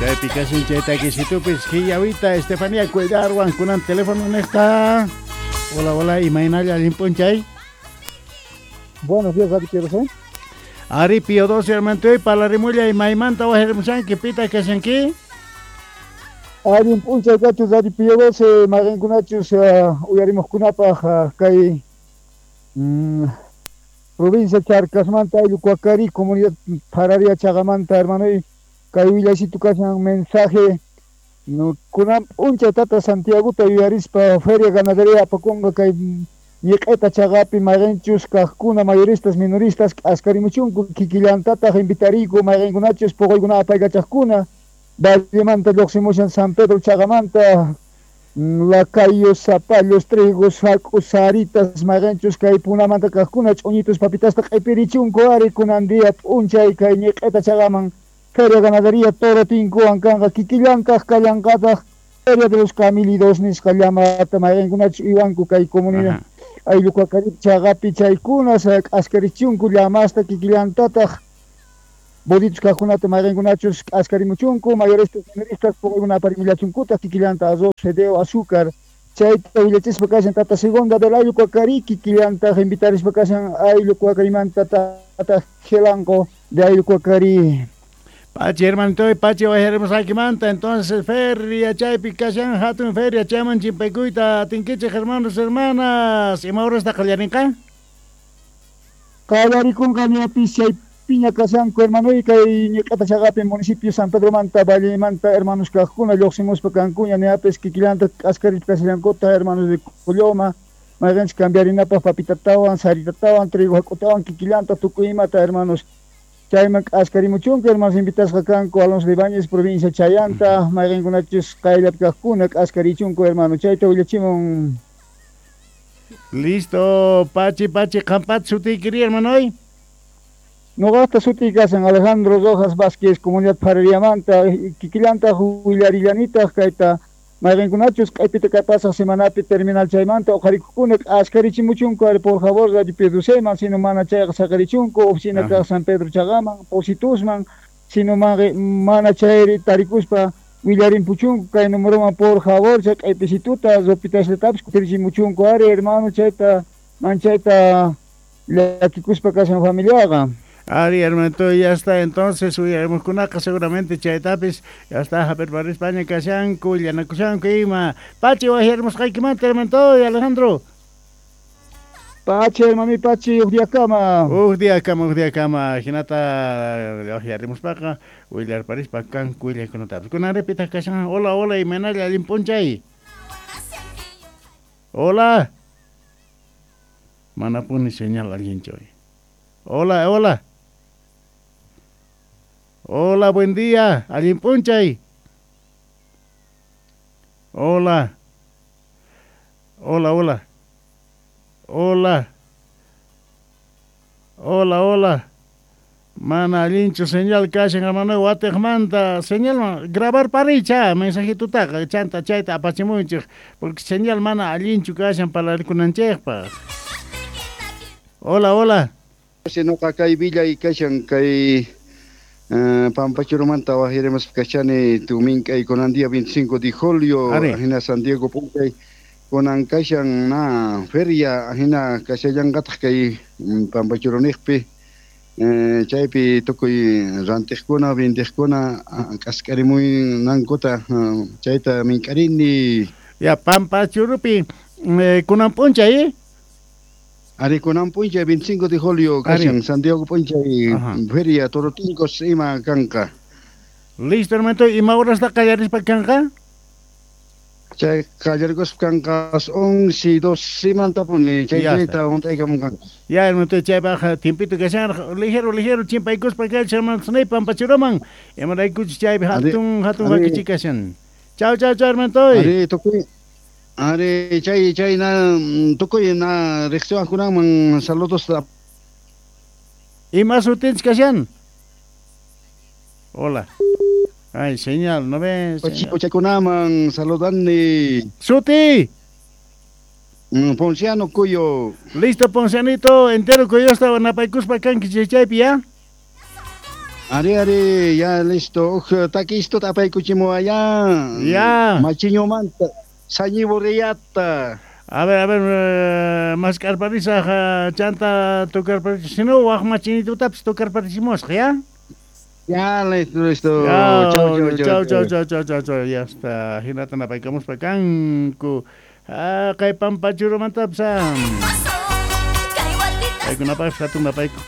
Chaypi kashan chay takisitupis Quillawita Estefanía Cuellarwan kunan teléfono nejta. Hola, hola, imaynalla allin p'unchay. Buenos días, Ari Pío 12. Ari Pío 12, hermanitoy, parlarimulla imaymanta wajarimushanki, pitaq kashanki? Allin p'unchay kachus Radio Pío 12, mayqinkunachus uyarimuqkunapaq kay provincia Charcasmanta ayllu Cuacari, comunidad Pararia Chagamanta, hermanoy, kay willaysitu kashan mensaje no, kunan p'unchay tata Santiagota yuyarispa feria ganadería apakunqa kay ñiq'ita chaqapi mayqinchus kaqkuna mayoristas minoristas k'askarimuchunku kikillantataq invitariyku mayqinkunachus puquykuna apaykachaqkuna Vallemanta lluqsimushan San Pedro Chaqamanta lacayos, zapallos, trigos, sacos, saritas, mayqinchus kay punamanta kaqkuna ch'uñitus papitasta q'ipirichunku ari kunan día p'unchay kay ñiq'ita chaqaman feria ganadería toro tinkuwan kanqa kikillantaq kallanqataq feria de los camílidos nisqa llamata mayqinkunachus uywanku kay comunidad ayllu Cuacari chaqapi chaykuna k'askarichunku llamasta kikillantataq boditos kaqkunata mayqinkunachus k'askarimuchunku mayoristas minoristas puquykuna aparimillachunkutaj kikillanta arroz, fideo, azúcar chayta willachispa kashan tata segunda del ayllu Cuacari kikillantaq invitarispa kashan ayllu Cuacarimanta tata Gelanco de ayllu Cuacari. Pachi, hermanito, Pachi, bajaremos manta. Entonces, feria, chaypi kashan, hatun feria, chayman chimpaykuyta, atinkichej, hermanos, hermanas. Ima hora está qallarinqa? Qallarikunqa ñapis chay piña kashanku, hermano, y kay ñiq'ata chaqapi municipio San Pedro manta, Vallemanta, hermanos kaqkuna, lluqsimuspa kankuña, ñapis kikillanta k'askarispa kashallankuta, hermanos de Colloma, mayqinchik cambiarinapaq papitatawan, saritatawan, trigo hak'utawan, kikillanta tukuy imata, hermanos. Chayman k'askarimuchunku, hermanos invitasqa kanku Alonso de Ibáñez, provincia Chayanta, mayqinkunachus qayllapi kaqkuna k'askarichunku, hermano, chayta willachimun. Listo, Pachi, Pachi, qampat sutiykiri, hermano. Noqaqta sutiy kashan Alejandro Rojas Vázquez, comunidad Parariamanta, kikillantaq willarillanitaq kayta mayqinkunachus q'ipita kay pasaq semanapi terminal chaymanta uqharikukuna k'askarichimuchunku ari por favor Radio Pío Doceman, sino mana chayqa saqarichunku oficina kaq San Pedro Chaqaman, Positusman, sino mana chayri tarikuspa willarimpuchunku kay numeroman por favor chay q'ipisituta ropitaslatapis kutirichimuchunku ari hermano chayta manchayta llakikuspa kashan familiaqa. Ari, hermanito, ya está. Entonces, uyarimuqkunaqa seguramente chaytapis ya está Javier España kashanku, llanakushanku ima. Pachi, wajarimusqaykimanta, hermanito, Alejandro. Pachi, hermano, Pachi, uj diakama. Uj diakama, uj diakama. Hinata wajarimuspaqa willarparispa kanku willaykunatapis. Kunan repitaq kashan. Hola, hola, imaynalla allin p'unchay. Hola. Manapuni señal allinchu. Hola, hola. Hola, buen día. Allin p'unchay. Hola. Hola, hola. Hola. Hola, hola. Mana allinchu señal kashan, hermano, watejmanta señal grabar paricha mensajitutaqa chanta chayta apachimunchik porque señal mana allinchu kashan parlarikunanchikpaq. Hola, hola. Noqa kay villay kashan kay Pampachurumanta wajirimuspa kashani tumink'ay kunan día 25 de julio ajina San Diego p'unchay kunan kashan na feria ajina kashallanqataq kay Pampachuruniqpi chaypi tukuy rantiqkuna vendiqkuna k'askarimuynankuta chayta mink'arini. Ya Pampachurupi kunan p'unchay. Ari kunan p'unchay 25 de julio kashan San Diego p'unchay feria Torotincos ima kanqa. Listo, hermanito, ima horasta qallarispa kanqa? Chay qallarikuspa kanqa 11, 12 mantapuni chayta hunt'aykamunqanku. Ya, hermanito, chaypaq tiempito kashan ligero, ligero chimpaykuspa kashan hermano, Pampachuruman. Imaraykuchus chaypi hatun hatun wakichi kashan. Chau, chau, chau, hermanito. Ari tukuy Ari chay chay na tukuy na riqsiwaqkunaman saludos. Ima sutinchik kashan? Hola. Ay, señal, ¿no ves? Chaykunaman saludani. Suti. Ponciano Cuyo. Listo, Poncianito, entero Cuyo estaba napaykuspa kanki chaypi, ¿ya? Ari, ari, ya listo. Uj takisto apaykuchimuwa ya. Ya. Machiñomanta. Sañiburriata. A ver, mask'arparisaj chanta tocarparisaj. Si no, waj machinitutapis tocarparisimusaj, ya? Ya, listo, listo. Ya, Chau, chau, chau, chau. chau, chau, chau, chau, chau. Ya está. Hinata napaykamuspa kanku. Ah, kay pampachurumantapis. Paykunapaqpis hatun napayku.